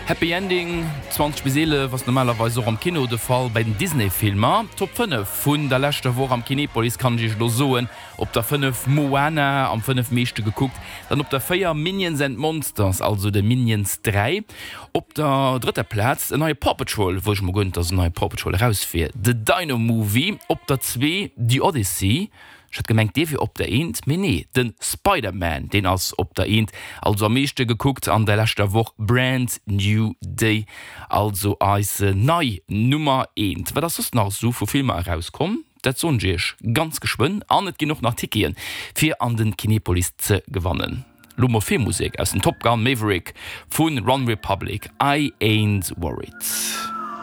Happy Ending, 20 bis 11 ass normalerweis och am Kino de Fall bei den Disney-Filmer. D'Top 5 vun der leschter Woch am Kinepolis kann ech iech elo soen, Op der 5 Moana, am 5 meeschte gekuckt, dann op der 4 Minions and Monsters, also de Minions 3, op der drëtter Plaz en neie Paw Patrol, wou ech mol guer net dass en neie Paw Patrol eraus wier, The Dino Movie, op der 2 The Odyssey, ech hat gemengt dee wier op der eent, mee nee, de Spider-Man deen ass op der eent, also am meeschte gekuckt an der leschter Woch Brand New Day, also eis nei Nummer eent. Wat ass soss nach esou vu Filmer erauskomm? Dat soen ech iech ganz geschwënn an et ginn och nach Ticketen fir an den Kinepolis ze gewannen. Lo mol Filmmusek aus dem Top Gun Maverick vu One Republic, I Ain't Worried.